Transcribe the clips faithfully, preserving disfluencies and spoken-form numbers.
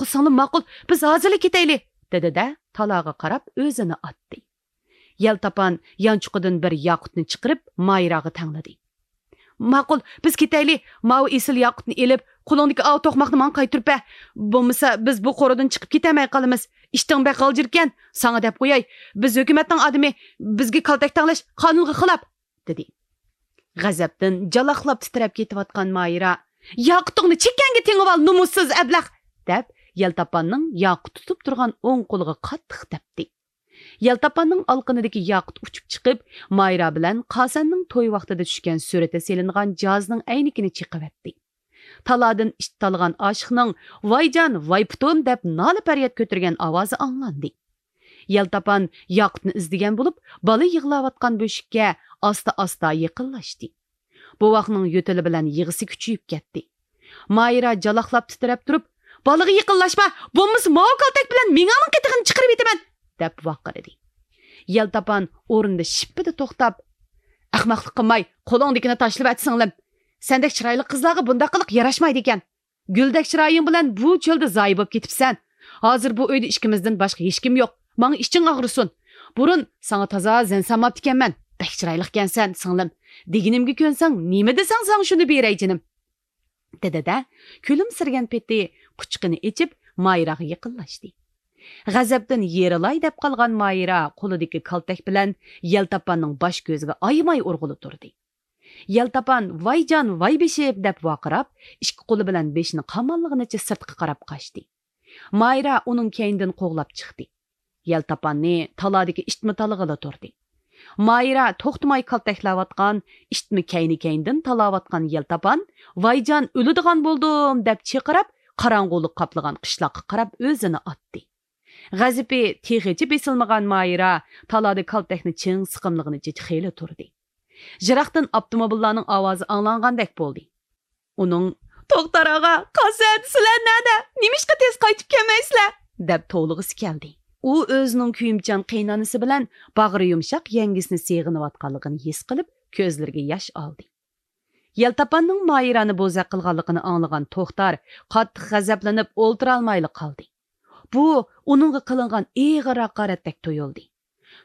ماقۇل، سىڭلىم، ماقۇل، بىز ھازىرلا كېتەيلى، دېدى-دە، تالاغا قاراپ ئۆزىنى ئاتتى. يەلتاپان يانچۇقىدىن بىر ياقۇتنى چىقىرىپ، مايراغا تەڭلىدى. ماقۇل، بىز كېتەيلى. ماۋۇ ئېسىل ياقۇتنى ئېلىپ، قولۇڭدىكى ئاۋۇ توقماقنى ماڭا قايتۇرۇپ بەر. بولمىسا، بىز بۇ قورۇدىن چىقىپ كېتەلمەي قالىمىز. ئىشتىڭ بەك غالجىركەن، ساڭا دەپ قوياي. بىز ھۆكۈمەتنىڭ ئادىمى، بىزگە كالتەك تەڭلەش قانۇنغا خىلاپ، دېدى. غەزەپتىن جالاقلاپ تىترەپ كېتىۋاتقان مايرا، ياقۇتۇڭنى چېكەڭگە تېڭىۋال، نومۇسسىز ئەبلەخ! دەپ، يەلتاپاننىڭ ياقۇت تۇتۇپ تۇرغان ئوڭ قولىغا قاتتىق تەپتى. يەلتاپاننىڭ ئالىقىنىدىكى ياقۇت ئۇچۇپ چىقىپ، مايرا بىلەن قاسەننىڭ توي ۋاقتىدا چۈشكەن سۈرىتى سېلىنغان جاھازنىڭ ئەينىكىنى چېقىۋەتتى. تالادىن ئىت تالىغان ئاشىقنىڭ «ۋايجان، ۋاي پۇتۇم» دەپ نالە-پەرياد كۆتۈرگەن ئاۋازى ئاڭلاندى. يەلتاپان ياقۇتنى ئىزدىگەن بولۇپ، بالا يىغلاۋاتقان بۆشۈككە ئاستا-ئاستا يېقىنلاشتى. بوۋاقنىڭ يۆتىلى بىلەن يىغىسى كۈچىيىپ كەتتى. مايرا جالاقلاپ تىترەپ تۇرۇپ، «بالىغا يېقىنلاشما، بولمىسا ماۋۇ كالتەك بىلەن مېڭەڭنىڭ قېتىغىنى چىقىرىۋېتىمەن!» دەپ ۋارقىرىدى. يەلتاپان ئورنىدا شىپپىدە توختاپ، «ئەخمەقلىق قىلماي، قولۇڭدىكىنى تاشلىۋەت، سىڭلىم. سەندەك چىرايلىق قىزلارغا بۇنداق قىلىق ياراشمايدىكەن. گۈلدەك چىرايىڭ بىلەن بۇ چۆلدە زايە بولۇپ كېتىپسەن. ھازىر بۇ ئۆيدە ئىككىمىزدىن باشقا ھېچكىم يوق. ماڭا ئىچىڭ ئاغرىسۇن. بۇرۇن ساڭا تازا زەن سالماپتىكەنمەن. بەك چىرايلىقكەنسەن، سىڭلىم. دېگىنىمگە كۆنسەڭ، نېمە دېسەڭ ساڭا شۇنى بېرەي، جېنىم.» دېدى-دە، كۈلۈمسىرىگەن پېتى قۇچىقىنى ئېچىپ، مايراغا يېقىنلاشتى. غەزەپتىن يېرىلاي دەپ قالغان مايرا قولىدىكى كالتەك بىلەن يەلتاپاننىڭ باش-كۆزىگە ئايىماي ئۇرغىلى تۇردى. يەلتاپان «ۋايجان، ۋاي بېشىم» دەپ ۋارقىراپ، ئىككى قولى بىلەن بېشىنى قاماللىغىنىچە سىرتقا قاراپ قاچتى. مايرا ئۇنىڭ كەينىدىن قوغلاپ چىقتى. يەلتاپاننى تالادىكى ئىتمۇ تالىغىلى تۇردى. مايرا توختىماي كالتەكلەۋاتقان، ئىتمۇ كەينى-كەينىدىن تالاۋاتقان يەلتاپان «ۋايجان، ئۆلىدىغان بولدۇم» دەپ چىرقىراپ، قاراڭغۇلۇق قاپلىغان قىشلاققا قاراپ ئۆزىنى ئاتتى. غەزىپى تېخىچە بېسىلمىغان مايرا تالادا كالتەكنى چىڭ سىقىملىغىنىچە خېلى تۇردى. يىراقتىن ئاپتوموبىللارنىڭ ئاۋازى ئاڭلانغاندەك بولدى. ئۇنىڭ «توختار ئاغا، قاسەن، سىلەر نەدە؟ نېمىشقا تېز قايتىپ كەلمەيسىلەر؟» دەپ توۋلىغۇسى كەلدى. ئۇ ئۆزىنىڭ كۆيۈمچان قېيىنئانىسى بىلەن باغرى يۇمشاق يەڭگىسىنى سېغىنىۋاتقانلىقىنى ھېس قىلىپ، كۆزلىرىگە ياش ئالدى. يەلتاپاننىڭ مايرانى بوزەك قىلغانلىقىنى ئاڭلىغان توختار قاتتىق غەزەپلىنىپ ئولتۇرالمايلا قالدى. بۇ ئۇنىڭغا قىلىنغان ئېغىر ھاقارەتتەك تۇيۇلدى.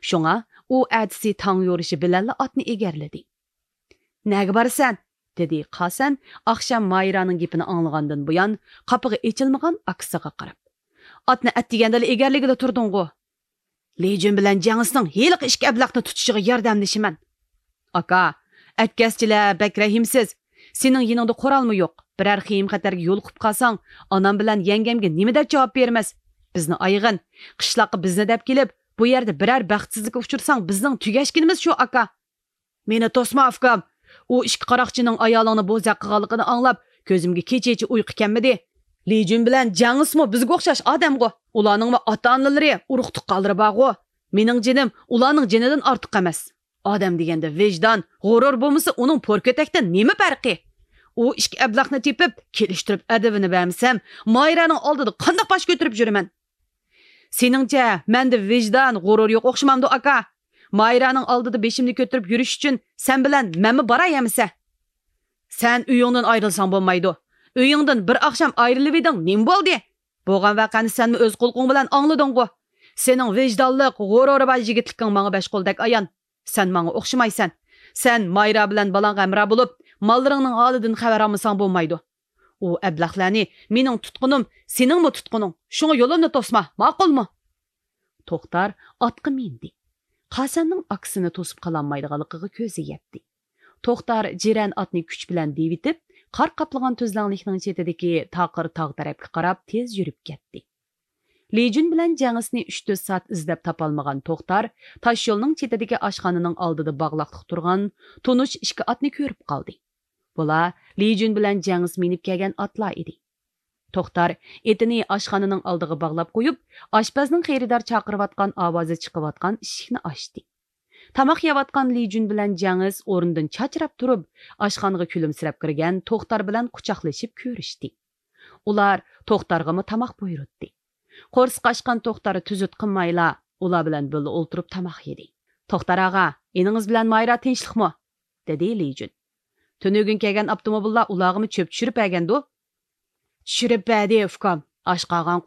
شۇڭا ئۇ ئەتىسى تاڭ يورۇشى بىلەنلا ئاتنى ئېگەرلىدى. «نەگە بارىسەن؟» دېدى قاسەن ئاخشام مايرانىڭ گېپىنى ئاڭلىغاندىن بۇيان قاپىقى ئېچىلمىغان ئاكىسىغا قاراپ. «ئاتنى ئەتىگەندىلا ئېگەرلىگىلى تۇردۇڭغۇ.» «لىجۈن بىلەن جياڭسنىڭ ھېلىقى ئىككى ئەبلەخنى تۇتۇشىغا ياردەملىشىمەن.» «ئاكا، ئەتكەسچىلەر بەك رەھىمسىز. سېنىڭ يېنىڭدا قورالمۇ يوق. بىرەر خېيىم-خەتەرگە يولۇقۇپ قالساڭ، ئانام بىلەن يەڭگەمگە نېمە دەپ جاۋاب بېرىمىز؟ بىزنى ئايىغىن. قىشلاققا بىزنى دەپ كېلىپ، بۇ يەردە بىرەر بەختسىزلىككە ئۇچرىساڭ، بىزنىڭ تۈگەشكىنىمىز شۇ، ئاكا.» «مېنى توسما، ئۇكام. ئۇ ئىككى قاراقچىنىڭ ئايالىڭنى بوزەك قىلغانلىقىنى ئاڭلاپ، كۆزۈمگە كېچىچە ئۇيقۇ كەلمىدى. لىجۈن بىلەن جياڭسمۇ بىزگە ئوخشاش ئادەمغۇ. ئۇلارنىڭمۇ ئاتا-ئانىلىرى، ئۇرۇق-تۇغقانلىرى بارغۇ. مېنىڭ جېنىم ئۇلارنىڭ جېنىدىن ئارتۇق ئەمەس. ئادەم دېگەندە ۋىجدان، غۇرۇر بولمىسا، ئۇنىڭ پور كۆتەكتىن نېمە پەرقى؟ ئۇ ئىككى ئەبلەخنى تېپىپ، كېلىشتۈرۈپ ئەدىپىنى بەرمىسەم، مايرانىڭ ئالدىدا قانداق باش كۆتۈرۈپ يۈرىمەن؟» «سېنىڭچە، مەندە ۋىجدان، غۇرۇر يوق ئوخشىمامدۇ، ئاكا؟ مايرانىڭ ئالدىدا بېشىمنى كۆتۈرۈپ يۈرۈش ئۈچۈن سەن بىلەن مەنمۇ باراي ئەمىسە.» «سەن ئۆيۈڭدىن ئايرىلساڭ بولمايدۇ. ئۆيۈڭدىن بىر ئاخشام ئايرىلىۋىدىڭ، نېمە بولدى؟ بولغان ۋەقەنى سەنمۇ ئۆز قۇلىقىڭ بىلەن ئاڭلىدىڭغۇ. سېنىڭ ۋىجدانلىق، غۇرۇرى بار يىگىتلىكىڭ ماڭا بەش قولدەك ئايان. سەن ماڭا ئوخشىمايسەن. سەن مايرا بىلەن بالاڭغا ھەمراھ بولۇپ، ماللىرىڭنىڭ ھالىدىن خەۋەر ئالمىساڭ بولمايدۇ. ئۇ ئەبلەخلەرنى مېنىڭ تۇتقۇنۇم، سېنىڭمۇ تۇتقۇنۇڭ. شۇڭا يولۇمنى توسما، ماقۇلمۇ؟» توختار ئاتقا مىندى. قاسەننىڭ ئاكىسىنى توسۇپ قالالمايدىغانلىقىغا كۆزى يەتتى. توختار جىرەن ئاتنى كۈچ بىلەن دېۋىتىپ، قار قاپلىغان تۈزلەڭلىكنىڭ چېتىدىكى تاقىر تاغ تەرەپكە قاراپ تېز يۈرۈپ كەتتى. لىجۈن بىلەن جياڭسنى ئۈچ-تۆت سائەت ئىزدەپ تاپالمىغان توختار تاشيولنىڭ چېتىدىكى ئاشخانىنىڭ ئالدىدا باغلاقلىق تۇرغان تونۇش ئىككى ئاتنى كۆرۈپ قالدى. بۇلار لىجۈن بىلەن جياڭس مىنىپ كەلگەن ئاتلار ئىدى. توختار ئېتىنى ئاشخانىنىڭ ئالدىغا باغلاپ قويۇپ، ئاشپەزنىڭ خېرىدار چاقىرىۋاتقان ئاۋازى چىقىۋاتقان ئىشىكنى ئاچتى. تاماق يەۋاتقان لىجۈن بىلەن جياڭس ئورنىدىن چاچراپ تۇرۇپ، ئاشخانىغا كۈلۈمسىرەپ كىرگەن توختار بىلەن قۇچاقلىشىپ كۆرۈشتى. ئۇلار توختارغىمۇ تاماق بۇيرۇتتى. قورسىقى ئاچقان توختار تۈزۈت قىلمايلا، ئۇلار بىلەن بىللە ئولتۇرۇپ تاماق يېدى. «توختار ئاغا، ئىنىڭىز بىلەن مايرا تىنچلىقمۇ؟» دېدى لىجۈن. «تۈنۈگۈن كەلگەن ئاپتوموبىللار ئۇلارغىمۇ چۆپ چۈشۈرۈپ بەرگەندۇ؟» «چۈشۈرۈپ بەردى، ئۇكام. ئاشقا ئاغاڭ